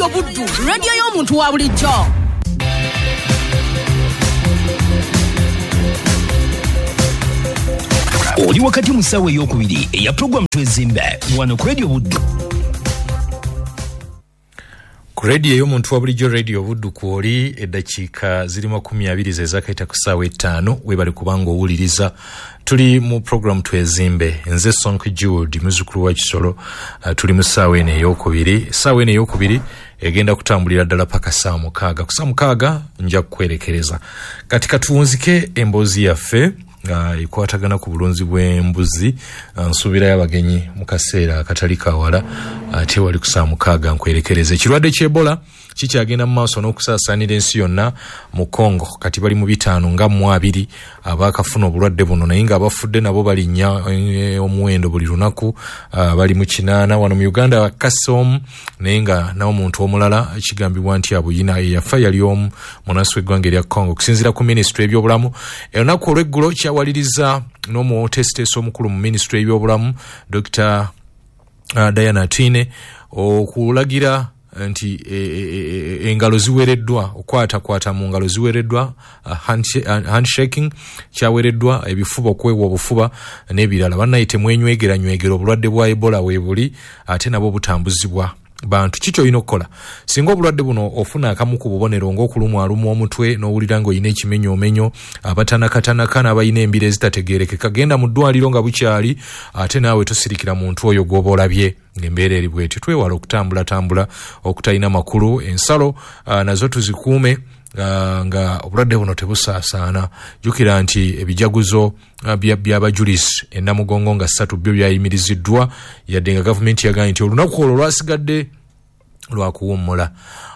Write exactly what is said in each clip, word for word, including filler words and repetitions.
Radio Buddu, radio y'omuntu wa bulijjo. Oli wakati mu ssaawa ey'okubiri eya pulogulaamu Twezimbe wano ku Radio Buddu. Ku radio ey'omuntu wa bulijjo Radio Buddu kwoli eddakiika ziri makumi abiri ze zaakayita ku ssaawa ettaano. Weebale kubanga owuliriza. Tuli mu pulogulaamu Twezimbe. Nze Sonko Jude, muzzukulu wa Kisolo. Uh, tuli mu ssaawa eno ey'okubiri. Essaawa eno ey'okubiri egenda kutambulira ddala paka ssaawa mukaaga. Ku ssaawa mukaaga nja kukwerekereza. Kati katuwunzike emboozi yaffe uh, ekwatagana ku bulunzi bw'embuzi. Uh, nsuubirayo abagenyi mu kaseera akatali kawala, ate uh, wali ku ssaawa mukaaga nkwerekereza. Ekirwadde ky'Ebola kikyagenda mu maaso n'okusaasaanira ensi yonna mu Congo. Kati bali mu bitaano nga mu abiri abaakafuna obulwadde buno, naye ng'abafudde nabo balinnya omuwendo buli lunaku, uh, bali mu kinaana. Wano mu Uganda bakassa omu, naye nga n'omuntu omulala kigambibwa nti abuyina eyafa yali omu munnansi w'eggwanga erya Congo. Okusinziira ku minisitule y'ebyobulamu, olunaku olw'eggulo kyawaliriza n'omuteesiteesi omukulu mu minisitule y'ebyobulamu Dokita uh, Diana Atwine okulagira nti engalo ziwereddwa, okwatakwata mu ngalo ziwereddwa, handshaking kyawereddwa, ebifuba okwewa obufuba n'ebirala. Bannaye temwenywegera nywegera, obulwadde bwa Ebola weebuli ate nabwo butambuzibwa bantu. Kiki olina okukola singa obulwadde buno ofuna akamu ku bubonero ng'okulumwalumwa omutwe n'owulira ng'olina ekimenyoomenyo, abatanakatanaka n'abalina embira ezitategeerekeka, genda mu ddwaliro nga bukyali, ate naawe tosirikira muntu oyo gw'oba olabye ng'embeera eri bw'etyo. Twewale okutambulatambula okutalina makulu. Ensalo uh, nazo tuzikuume uh, nga obulwadde buno tebusaasaana. Jjukira nti ebijaguzo uh, by'abajulizi e Namugongo nga ssatu byo byayimiriziddwa, yadde nga gavumenti yagambye nti olunaku olwo lwasigadde lwakuwummula.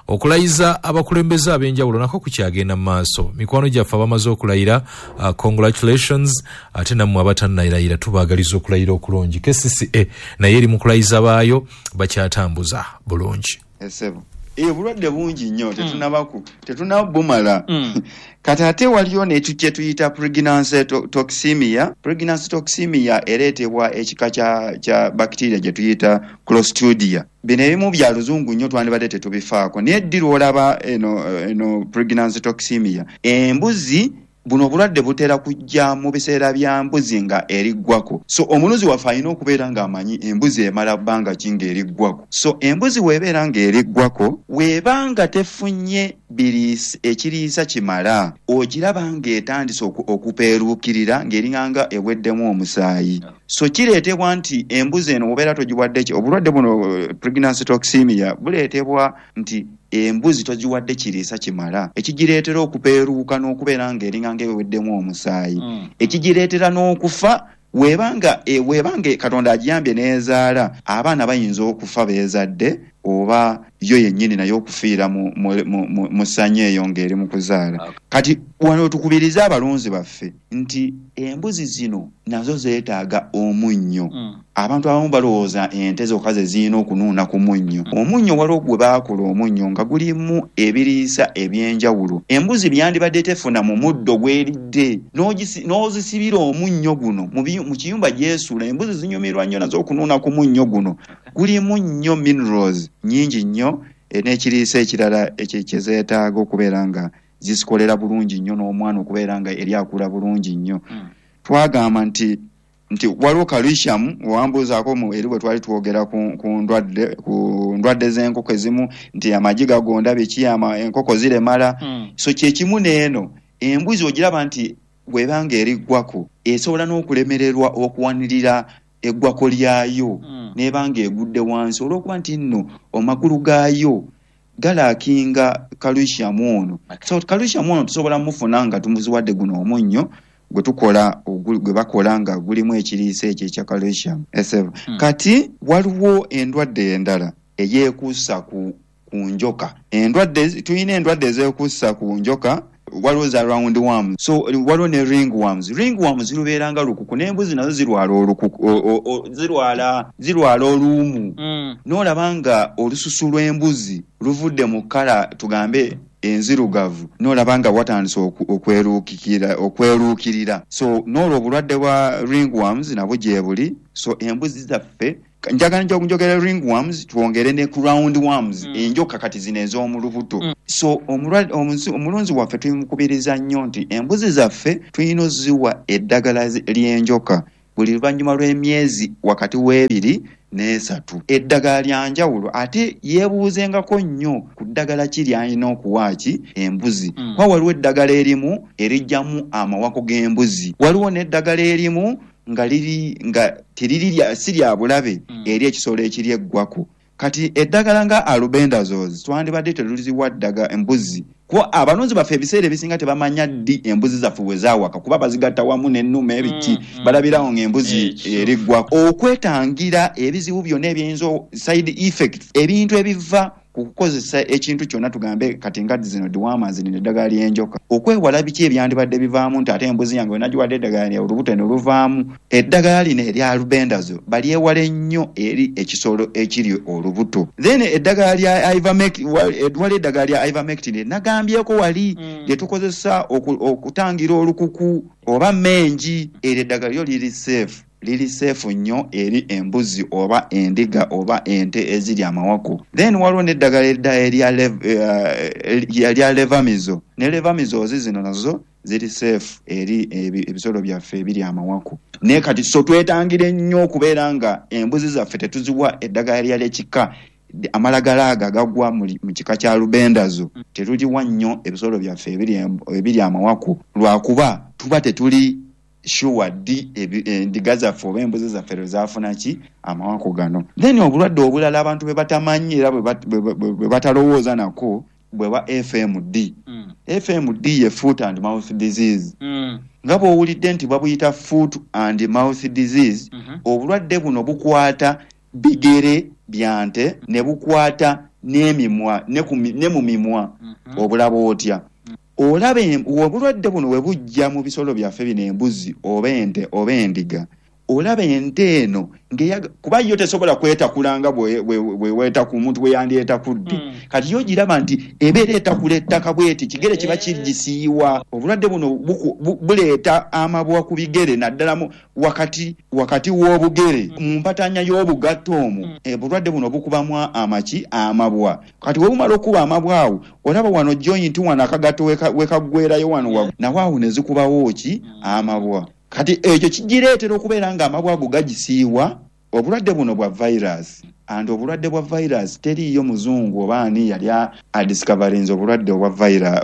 Okulayiza abakulembeze ab'enjawulo nako kukyagenda mu maaso. Mikwano gyaffe abamaze okulayira, uh, congratulations, ate nammwe abatannalayira tubaagaliza okulayira okulungi. K C C A naye eri mu kulayiza baayo bakyatambuza bulungi. Esebo obulwadde bungi nnyo, tetunabaku tetunabumala. mm. Kati ate waliyo n'ekyo kye tuyita pregnancy toxemia. Pregnancy toxemia ereetebwa ekika kya kya bacteria gye tuyita Clostridia. Bino ebimu bya luzungu nnyo twandibadde tetubifaako, naye ddi lw'olaba eno eno pregnancy toxemia? Embuzi buno obulwadde butera kujja mu biseera bya mbuzi nga eriggwako. So omulunzi waffe alina okubeera ng'amanyi embuzi emala bbanga ki ng'eriggwako. So embuzi weebeera ng'eriggwako, weeba nga tefunye biriisa ekiriisa kimala, ogiraba ng'etandise okupeeruukirira ng'eringanga eweddemu omusaayi. So kireetebwa nti embuzi eno obeera togiwadde ki obulwadde buno pregnancy toxemia buleetebwa nti embuzi togiwadde kiriisa kimala, ekigireetera okupeeruuka n'okubeera ng'eringanga eweddemu omusaayi, mm. ekigireetera n'okufa. Weebanga e, weebanga Katonda agiyambye n'ezaala, abaana bayinza okufa beezadde oba yo yennyini naye okufiira mu, mu, mu, mu ssanyu eyo ng'eri mu kuzaala. Okay. Kati wano tukubiriza abalunzi baffe nti embuzi zino nazo zeetaaga omunnyo. Mm. Abantu abamu balowooza ente zokka ze zirina okunuuna ku munnyo. Mm. Omunnyo waliwo gwe baakola omunnyo nga gulimu ebiriisa eby'enjawulo. Embuzi byandibadde tefuna mu muddo gw'eridde, n'ozisibira omunnyo guno mu kiyumba gy'esula. Embuzi zinyumirwa nnyo nazo okunuuna ku munnyo guno. Gulimu nnyo minerals nnyingi nnyo n'ekiriisa ekirala kye zeetaaga okubeera nga zisikolera bulungi nnyo n'omwana okubeera nga eri akula bulungi nnyo. Mm. Twagamba nti nti waliwo calcium wambuuzaako mu eri bwe twali twogera ku, ku ndwadde ku ndwadde z'enkoko ezimu nti amagi gagonda biki ama enkoko ziremala. Mm. So kyekimu n'eno embuzi ogiraba nti bw'ebanga eriggwako esobola n'okulemererwa okuwanirira eggwako lyayo, mm. n'ebanga egudde wansi olw'okuba nti nno amagulu gaayo galaakinga calcium ono. Okay. So calcium ono tusobola mufuna nga tumuziwadde guno omunnyo gwe tukola gwe bakola nga gulimu ekiriisa ekyo ekya calcium. Mm. Kati waliwo endwadde endala eyeekuusa ku, ku njoka. Endwadde tulina endwadde ezeekuusa ku njoka, waliwo za round worms, so waliwo ne ring worms. Ring worms zirubeera nga lukuku, n'embuzi nazo zirwala olukuku, zirwala zirwala oluumu. Mm. N'olaba nga olususu lw'embuzi luvudde mu kkala tugambe enzirugavu, n'olaba nga watandise okweruukirira okweruukirira. So n'olwo obulwadde bwa ringworms nabwo gye buli. So embuzi zaffe Njagala njogera ringworms, twongere ne ku round worms, mm. enjoka kati zino ez'omu lubuto. Mm. So omulunzi waffe tumukubiriza nnyo nti embuzi zaffe tulina oziwa eddagala ly'enjoka buli luvannyuma lw'emyezi wakati w'ebiri n'esatu. Eddagala lya njawulo, ate yeebuuzengako nnyo ku ddagala ki ly'alina okuwa ki embuzi. Mm. Kuba waliwo eddagala erimu erijjamu amawako g'embuzi, waliwo n'eddagala erimu nga liri nga teriri si lya bulabe mm. eri ekisolo ekiri eggwako. Kati eddagala nga albendazole twandibadde tetuliziwa ddaga embuzi, kuba abalunzi baffe ebiseera ebisinga tebamanya ddi embuzi zaffe we zaawaka, kuba bazigatta wamu n'ennume ebiki, mm, balabirawo ng'embuzi eriggwako. Okwetangira ebizibu byonna ebiyinza side effects, ebintu ebiva ku kukozesa ekintu kyonna, tugambe kati nga zino dewormers n'eddagala ly'enjoka, okwewala biki ebyandibadde bivaamu nti ate embuzi yange wenagiwadde eddagala lya olubuto ne luvaamu. Eddagala lino erya albendazole balyewale nnyo eri ekisolo ekiri olubuto. Then eddagala lya ivermectin, wali eddagala lya ivermectin nagambyeko wali mm. lye tukozesa okutangira olukuku oba mengi, eryo eddagala lyo liri safe, liri safe nnyo eri embuzi oba endiga oba ente eziri amawako. Then waliwo n'eddagala erya erya levamizo, ne levamizo zino nazo ziri safe eri ebisolo byaffe ebiri amawako. Naye kati so twetangire nnyo okubeera nga embuzi zaffe tetuziwa eddagala lya ekika amalagala ago agagwa mu kika kya lubendazo, tetuliwa nnyo ebisolo byaffe ebiri amawako, lwakuba tuba tetuli sure ddi endiga zaffe oba embuzi zaffe lwe zaafuna ki amawako gano. Then obulwadde obulala abantu bwe batamanyi era bwe batalowooza nako bwe bwa F M D. Mm. F M D ye foot and mouth disease. Mm. Nga bw'owulidde nti babuyita foot and mouth disease, mm -hmm. obulwadde buno bukwata bigere bya nte ne bukwata n'emimwa ne mu mimwa. Mm -hmm. Obulaba otya? Olaba obulwadde buno bwe bujja mu bisolo byaffe bino embuzi oba ente oba endiga, olaba ente eno kuba yo tesobola kwetakula nga bwe weetaku omuntu bwe yandyetakudde. Mm. Kati yo giraba nti ebeera etakula ettaka bweti, kigere kiba kigisiiwa. Obulwadde buno buleeta amabwa ku bigere, naddala wakati wakati w'obugere, mu mpatanya y'obugatto omwo. Mm. Obulwadde buno bukubamu amaki amabwa. Kati bwe bumala okuba amabwa awo, olaba wano joint wano akagatto wekaggwerayo wano waggulu, nawo awo ne zikubawo ki amabwa. Kati ekyo kigireetera okubeera nga amabwa ago gagisiiwa. Obulwadde buno bwa virus, and obulwadde bwa virus teriiyo muzungu oba ani yali adiscoverinze obulwadde obwa virus,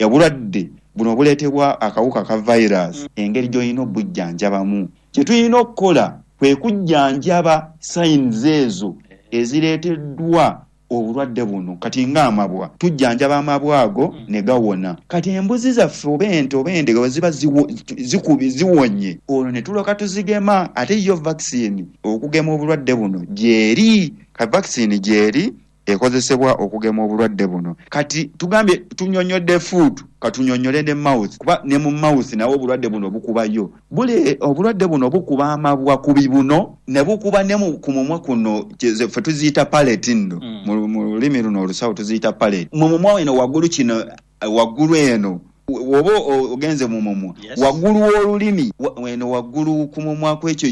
obulwadde buno obuleetebwa akawuka ka virus. Engeri gy'olina obujjanjabamu, kye tulina okukola kwe kujjanjaba signs ezo ezireeteddwa obulwadde buno. Kati ng'amabwa, tujjanjaba amabwa ago ne gawona. Kati embuzi zaffe oba ente oba endiga bwe ziba ziwonye, olwo ne tulyoka tuzigema. Ate yo vaccine okugema obulwadde buno gyeri, ka vaccine gyeri ekozesebwa okugema obulwadde buno. Kati tugambye tunyonyodde foot, katunyonyole ne mouth, kuba ne mu mouth nawo obulwadde buno bukubayo. Bule obulwadde buno bukuba amabwa ku bibuno ne bukuba ne ku mumwa kuno, ffe tuziyita palate nno. Mm. Mu lulimi luno olusawo tuziyita palate. Mu mumwa eno waggulu kino, waggulu eno oba ogenze mu mumwa, yes. waggulu w'olulimi eno waggulu ku mumwa kwekyo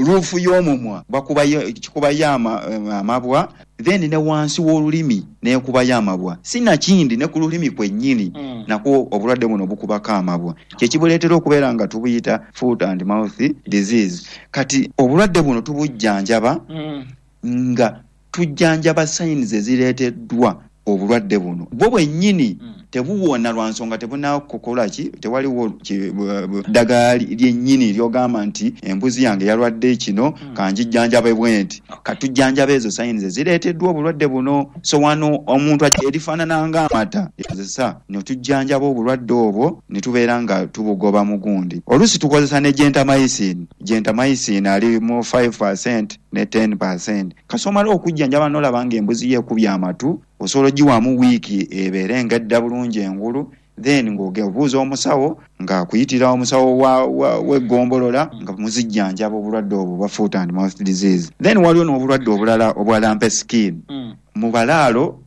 ruufu y'omumwa bakubayo kikubayo amabwa, then ne wansi w'olulimi nekubayo amabwa, sinakindi ne ku lulimi kwennyini. Mm. Nakwo obulwadde buno bukubako amabwa, kyekibuleetera okubeera nga tubuyita foot and mouth disease. Kati obulwadde buno tubujjanjaba mm. nga tujjanjaba signs ezireeteddwa obulwadde buno. Bwo bwennyini mm. tebuwona lwa nsonga tebunakukola ki, tewaliwo ddagala lyennyini ly'ogamba nti embuzi yange yalwadde kino mm. kanjijjanjabe bwe nti. Katujjanjaba ezo signs ezireeteddwa obulwadde buno. So wano omuntu erifaanana ng'amata ekozesa ne tujjanjaba obulwadde obwo ne tubeera nga tubugoba mu gundi. Oluusi tukozesa ne gentamicin. Gentamicin ali mu five percent ne ten percent. Kasomala okujjanjaba n'olaba ng'embuzi yeekubye amatu, osobola ogiwaamu wiiki ebeere nga edda bulungi engulu, then ng'obuuza omusawo ng'akuyitira omusawo w'eggombolola nga muzijjanjaba obulwadde obwo bwa foot and mouth disease. Then waliwo n'obulwadde obulala obwa lumpy skin. Mm. Mu balaalo,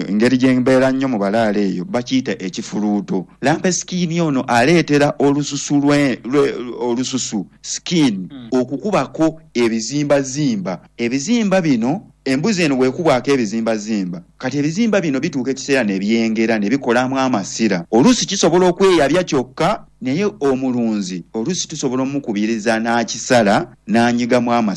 engeri gye mbeera nnyo mu balaalo eyo, bakiyita ekifuluuto. Lumpy skin ono aleetera olususu lwe, lwe, olususu skin mm. okukubako ebizimbazimba. Ebizimba bino, embuzi eno bwekubwako ebizimbazimba, kati ebizimba bino bituuka ekiseera ne byengera ne bikolamu amasira. Oluusi kisobola okweyabya kyokka, naye omulunzi oluusi tusobola omukubiriza n'akisala n'anyigamu amasira.